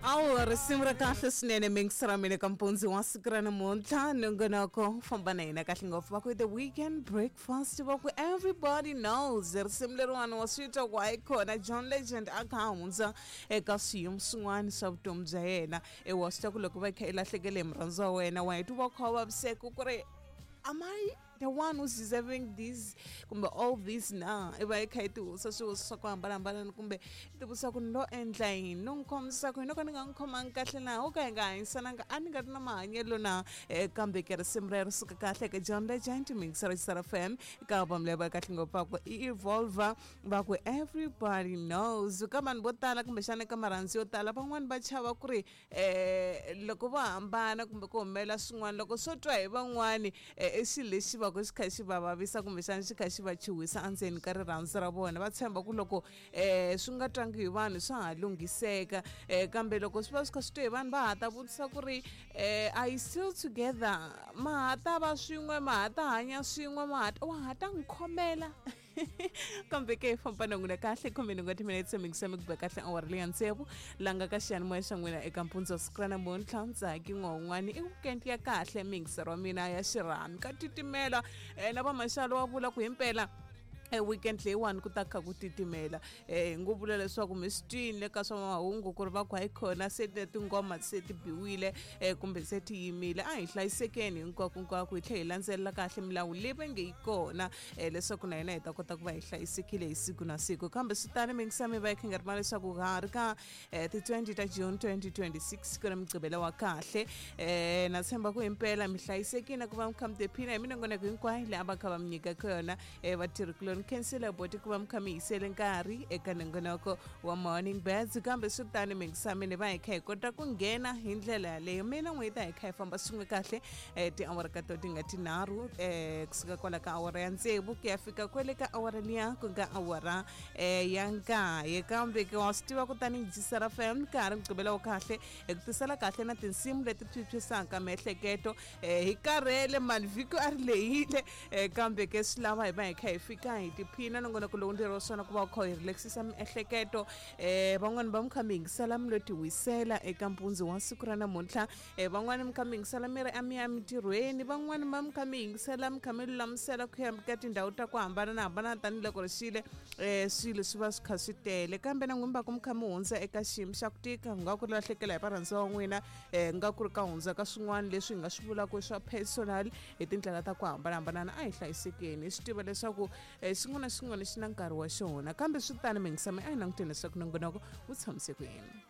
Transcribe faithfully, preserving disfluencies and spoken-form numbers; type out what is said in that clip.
Awu risimu ra kahle swinene mixer mina ka mpundzi wa siku ra namuntlha nongonoko famba na hina kahle ngopfu va ku the weekend breakfast va ku everybody knows risimu leriwani wa swi twa ku hayi kona John Legend a kha a hundza eka swiyimo swin'wana swa vutomi bya yena e wa swi twa ku loko va kha i lahlekele hi murhandzi wa wena wa heti va kha u vaviseka ku ri am I the one who's deserving this kumbe all this na i va i kha i tivutisa swivutiso swa ku hambanahambana kumbe i tivutisa ku ni lo endla yini no n'wi khomisa ku yini no ka ni nga n'wi khomangi kahle na wo ka hi nga hanyisananga a ni nga ri na mahanyelo na eh, kambe ke risimu rero suka kahle ka John Legend mixer F M ka album leyi va kahle ngopfu va ku i Evolver va ku everybody knows ka vanhu vo tala kumbexana ka marhandzu yo tala van'wani va chava ku ri eh, loko vo hambana kumbe ku humelela swin'wana loko swo twa hi van'wani eh, i xilo lexi va ku xi kha xi va vavisa kumbexana xi kha xi va chuhisa endzeni ka rirhandzu ra vona va tshemba ku loko um swi nga twangi hi vanhu swa ha lunghiseka um kambe loko swi va swi kha swi twe hi vanhu va ha ta vutisa ku ri um are you still together ma ha ta va swin'we ma ha ta hanya swin'we ma ha ta wa ha ta n'wi khomela kambe ke hi famba na n'wina kahle khume nhungu timinetse mingisa mi ku ba kahle awara leya tsevu langa ka xiyanimoya xa n'wina eka mpundzu wa siku ra namuntlha ntsaki n'wan'wani i weekend ya kahle mixer wa mina ya xirhami ka titimela um na vamaxalo wa vula ku himpela e weekend leyiwani ku ta kha ku titimela um ngo vula leswaku mi swi twini le ka swa mahungu ku ri va ku hayi khona se tingoma se ti biwile um kumbe se ti yimile a hi hlayisekeni hinkwako hinkwako hi tlhela hi landzelela kahle milawu leyi va nge yi kona um leswaku na hina hi ta kota ku va hi hlayisekile hi siku na siku kambe swi tani mingisa mi va yi kha nga ri ma leswaku ha ri ka um ti-twenty ta June twenty twenty-six ku ri mugqivela wa kahle um na tshemba ku himpela mi hlayisekile ku va mi kha mi tiphina hi minongonoko hinkwayo leyi a va kha va mi nyikaka yona um vatirhikuloni khensile boti ku va mi kha mi yisele nkarhi eka nongonoko wa morning birds kambe swi tani mingisa mina va hi kha hi kota ku nghena hi ndlela yaleyo mina n'hweti hi kha hi famba swin'we kahle um tiawara ka to ti nga tinharhu um kusuka kwala ka awara ya tsevu ku ya fika kwele ka awara liya ku nga awara um ya nkaye kambe ke wa swi tiva ku tanihi G F M ka ha ri mugqivela wa kahle hi ku tisela kahle na tinsimu leti phyuphyisaka miehleketo um hi karhele mani vhiki a ri lehile um kambe ke swi lava hi va hi kha hi fika hi tiphina nongonoko lowu ndzi ri swona ku va u kha hi relaxisa miehleketo um van'wani va mi kha mi yingisela mi lo ti wisela eka mpundzu wa siku ra namuntlha um van'wani mi kha mi yingisela mi ri a mi ya emitirhweni van'wani va mi kha mi yingisela mi kha mi lulamisela ku ya ka tindhawu ta ku hambanahambana tanihiloko ri xile um swilo swi va swi kha swi tele kambe na n'wini va ku mi kha mi hundza eka xiyimo xa ku tika ku nga ku ri lahlekela hi varhandziwa wa n'wina um nga ku ri ka hundza ka swin'wana leswi hi nga swi vulaka swa personal hi tindlela ta ku hambanahambana a hi hlayisekeni hi swi tiva leswaku um xin'wana na xin'wana xi na nkarhi wa xona kambe swi tani mingisa mi a hi languteni leswaku nongonoko wu tshamise ku yini.